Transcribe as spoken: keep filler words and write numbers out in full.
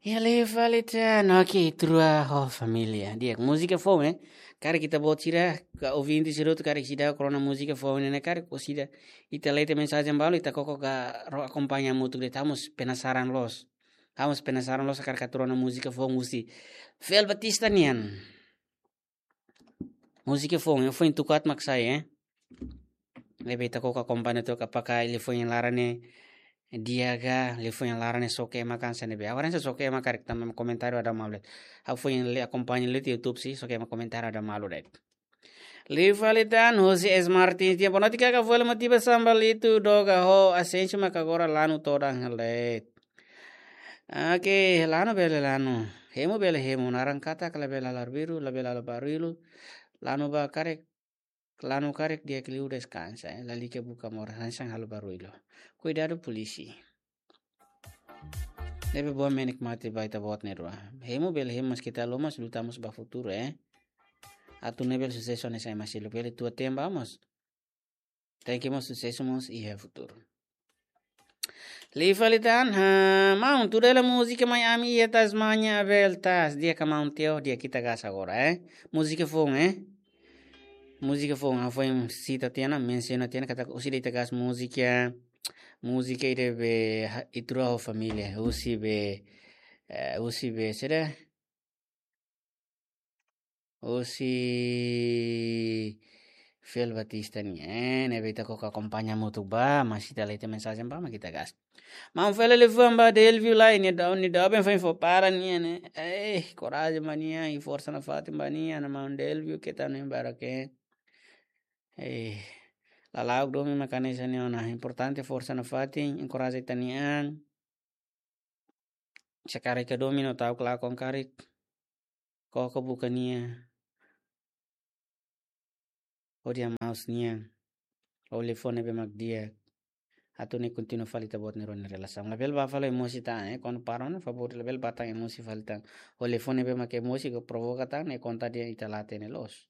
Iha, liu fali tan, oke, Ita-Rua ho Família. Di'ak, múzika foun, eh? Karik ita-boot sira, ka ouvinte sira hotu karik seidauk rona múzika foun ne'e, karik orsida ita lee tiha mensajen balu, ita koko ka ro akompaña hamutuk de'it, ha'u mós penasaran loos. Ha'u mós penasaran loos karik atu rona múzika foun husi Fel Batista nian. Múzika foun, foin tuku aat mak sai, eh? Ne'ebé ita koko akompaña took, apakah liafuan iha laran ne'e di'ak ka, liafuan iha laran ne'e soke mak hanesan ne'ebé. Agora se soke mak karik tanba komentáriu dala malu de'it. Ha'u foin lee, akompaña lee iha YouTube sih, soke mak komentáriu dala malu de'it. Liu fali tan, husi S Martins nian, boa noite, kaka, fó hela motivasaun ba Lito, Doga ho Asensio mak agora lanu todan hela de'it. Oke, lanu bele lanu. Hemu bele hemu, naran katak labele halo barullu, labele halo barullu. Lanu ba karik, lanu karik di'ak liu deskansa, eh. Lalika buka moras, hanesan halo barullu. Kuidadu polísia. Ne'ebé boa menikmati ba ita-boot nia rua. Hemu bele hemu, mas ita loos mós luta mós ba futuru, eh. Atu nune'e bele susesu hanesan ema seluk, bele tua temba mós. Tenke mós susesu mós iha futuru. Liu fali tan, ha, maun, tuda hela múzika Mai Ami iha Tasmania, Abel Taz. Di'ak ka maun Teo, di'ak, ita gás agora, eh. Múzika foun, eh. Múzika foun, ha'u foin sita tiha ona, mensiona tiha ona, katak orsida ita gás múzika, múzika ida be, ha, Ita-Rua ho Família, husi be, eh, husi be, saida? Husi Fel Batista nian, eh, ne'ebé ita koko akompaña hamutuk ba, mas ita lee tiha mensajen ba, mak ita gás. Maun, fó hela liafuan ba Delvio lai, nia dau, nia dau ben foin fó para nia, ne'e. Eh, korajen ba nia, i forsa nafatin ba nia, maun Delvio, keta nem bara ke. Eh, lala'ok domin mak hanesan ne'e ona, importante forsa nafatin, enkoraja ita-nia an. Se karik iha domin no ta'uk lakon karik, koko buka nia. Hodi amaus nia. Ho liafuan ne'ebé mak di'ak. Atu nune'e kontinua fali ita-boot nia rua nia relasaun. Labele bá fali emosi tan, eh, kuandu para ona, favór, labele bá tan emosi fali tan. Ho liafuan ne'ebé mak emosi ka provoka tan, ne'e konta dehan ita la hatene loos.